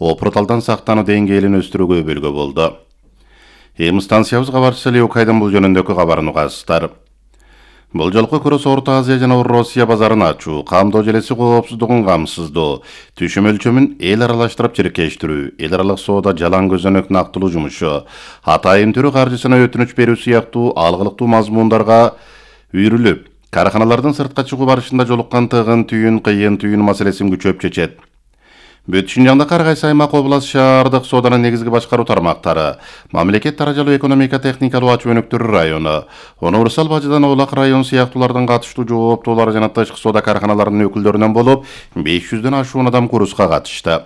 опурталдан сактануу деңгээлин өстүрүүгө өбөлгө болду. Эми станциябыз кабарчысы Леокайдын бул жөнүндөгү кабарын угасыздар. Бул жолку Курус Орто Азия жана Россия базарын ачуу, камдоо желеси коопсуздугун камсыздоо, түшүм өлчөмүн эл аралаштырып чиркештирүү, эл аралык соода жалаң көзөнөк нактылуу жумушу, атайын түрү каржысына өтүнүч берүү сыяктуу алгылыктуу мазмундарга үйрүлүп, караханалардын сыртка чыгуу барышында жолуккан тыгын түйүн, кыйын түйүн маселесин күчөп чечет. Бүт Шинжаңдагы ар кайсы аймак, област, шаардык сооданын негизги башкаруу тармактары, мамлекет даражалуу экономика техникалуу ачуу өнүктүрүү району, универсал бажыдан Оолак район сыяктуулардын катыштуу жооптуулары жана тышкы соода караханаларынын өкүлдөрүнөн болуп 500дөн ашуун адам курска катышты.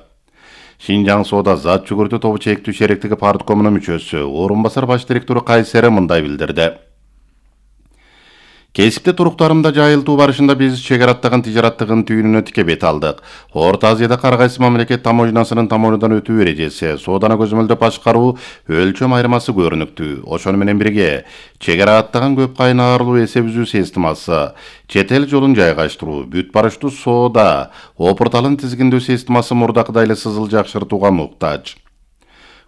Шинжаң соода зат жүгүртүү тобу чектүү шериктиги парткомунун мүчөсү, орун басар баш директору Кайсери мындай билдирди. Кесипте туруктарымда жайылтуу барышында биз чек араттаган тижараттыгын түйүнүнө тике бет алдык. Орто Азияда ар кайсы мамлекет таможнасынын тамоонудан өтүү эрежеси, сооданы көзөмөлдөп башкаруу өлчөм айырмасы көрүнүктүү. Ошону менен бирге чек араттаган көп кайнарлуу эсеп үзүү системасы, чет эл жолун жайгаштыруу, бүт барыштуу соода, опурталын тизгиндөө системасы мурдакыдай эле сызыл жакшыртууга муктаж.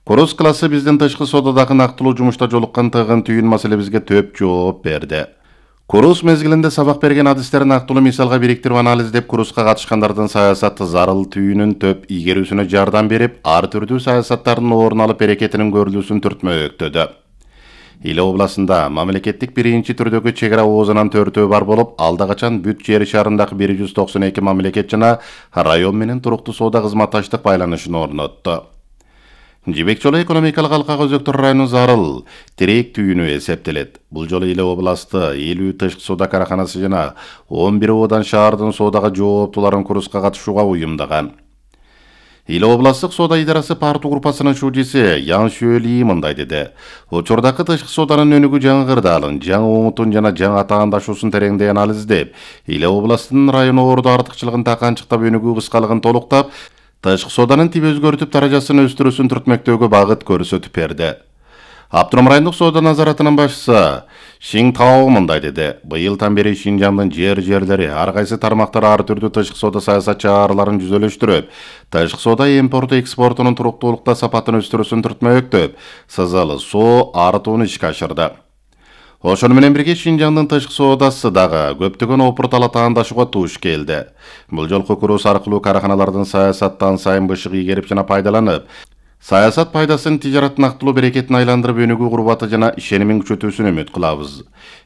Курус классы биздин тышкы соодадагы нактылуу жумушта жолуккан тыгын түйүн маселебизге төп жооп берди. Курус мезгилинде сабак берген адистерин нактылуу мисалга бириктирип анализдеп, курска катышкандардын саясаты зарыл түйүнүн төп ийгерүүсүнө жардам берип, ар түрдүү саясаттардын орун алып берекетинин көрүлүүсүн түртмөктөдү. Иле областында мамлекеттик биринчи түрдөгү чек ара оозунан 4 бар болуп, алда качан бүт жер шаарындагы 192 мамлекет жана район менен туруктуу соода кызматташтык байланышын орнотту. Жибек жолу экономикалык алкага өзөктөр району зарыл тирек түйүнү эсептелет. Бул жолу Иле областы 50 тышкы соода караханасы жана 11 одан шаардын соодага жооптууларын курска катышууга уюмдаган. Иле областтык соода идарасы парту группасынын шужиси Ян Шөли мындай деди. Учурдагы тышкы сооданын өнүгүү жаңгырдаалын, жаңы оңутун жана жаңы атаандашуусун тереңдей анализдеп, Иле областынын району ордо артыкчылыгын таканчыктап, өнүгүү кыскалыгын толуктап, тышкы сооданын тип өзгөртүп даражасын өстүрүүсүн түртмөктөөгө багыт көрсөтүп берди. Аптырам райондук соода назаратынын башчысы Шиң Тао мындай деди. Быйылдан бери Шинжаңдын жерлери ар кайсы тармактар ар түрдүү тышкы соода саясат чараларын жүзөлөштүрүп, тышкы соода импорту экспортунун туруктуулукта сапатын өстүрүүсүн түртмөктөп, сызалы соо артууну ишке ашырды. Ошону менен бирге Шинжаңдын тышкы соодасы дагы көптөгөн опуртал атаандашууга туш келди. Бул жолку курус аркылуу караханалардын саясаттан сайын бышык ийгерип жана пайдаланып, саясат пайдасын тижарат нактылуу берекетин айландырып, өнүгүү курбаты жана ишенимин күчөтүүсүн үмүт кылабыз.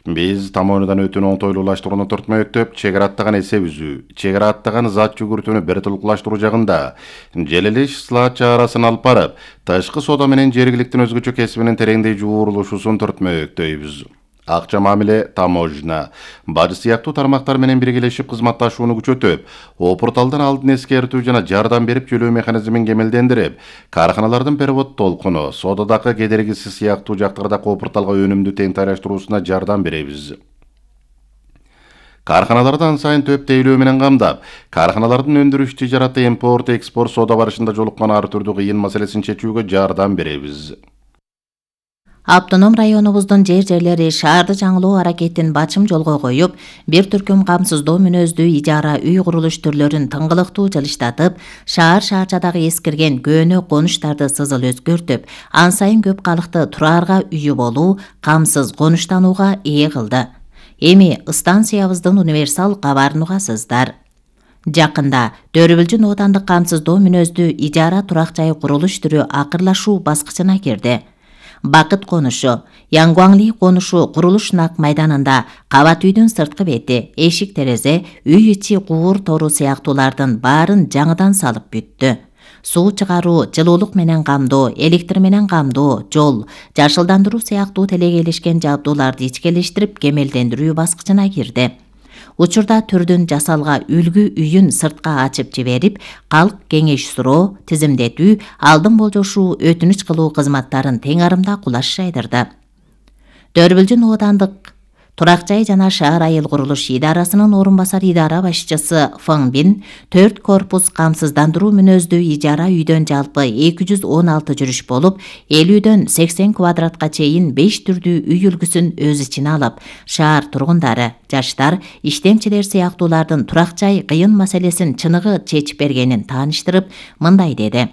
Биз тамоонудан өтүүнү оңтойлуулаштырууну түртмөктөп, чек араттаган эсеп үзүү, чек араттаган зат жүгүртүүнү бир тулуклаштыруу жагында желелеш слат чарасын алып барып, тышкы соода менен жергиликтин өзгөчө кесибинин тереңдей жуурулушуусун түртмөктөйбүз. Акча мамиле, таможня, бажы сыяктуу тармактар менен биргелешип кызматташууну күчөтүп, опурталдан алдын эскертүү жана жардам берип төлөө механизмин кемелдендирип, караханалардын перевод толкуну, соодадагы кедергиси сыяктуу жактардагы опурталга өнүмдү тең тайраштырууусуна жардам беребиз. Караханаларды ан сайын төп тейлөө менен камдап, караханалардын өндүрүш тижараты, импорт, экспорт соода барышында жолуккан ар түрдүү кыйын маселесин чечүүгө жардам беребиз. Автоном районубуздун жерлери шаарды жаңылоо аракетин бачым жолго коюп, бир түркүм камсыздоо мүнөздүү ижара үй курулуш түрлөрүн тыңгылыктуу жылыштатып, шаар-шаарчадагы эскирген көөнө конуштарды сызыл өзгөртүп, ан сайын көп калыкты тураарга үйү болуу, камсыз конуштанууга ээ кылды. Эми станциябыздын универсал кабарын угасыздар. Жакында Төрүбүлжүн оотандык камсыздоо мүнөздүү ижара турак жай курулуш түрү акырлашуу баскычына кирди. Бакыт конушу, Янгуаңли конушу курулуш нак майданында кабат үйдүн сырткы бети, эшик терезе, үй ичи куур тору сыяктуулардын баарын жаңыдан салып бүттү. Суу чыгаруу, жылуулук менен камдоо, электр менен камдоо, жол, жашылдандыруу сыяктуу телегейлешкен жабдууларды ичкелештирип кемелдендирүү баскычына кирди. Учурда түрдүн жасалга үлгү үйүн сыртка ачып жиберип, калк кеңеш суроо, тизимдетүү, алдын болжошуу, өтүнүч кылуу кызматтарын тең арымда кулаш жайдырды. Төрүбүлжүн оотандык турак жай жана шаар айыл курулуш идарасынын орун басар идара башчысы Фың Бин 4 корпус камсыздандыруу мүнөздүү ижара үйдөн жалпы 216 жүрүш болуп, 50дөн 80 квадратка чейин 5 түрдүү үй үлгүсүн өз ичине алып, шаар тургундары, жаштар, иштемчилер сыяктуулардын турак жай кыйын маселесин чыныгы чечип бергенин тааныштырып, мындай деди.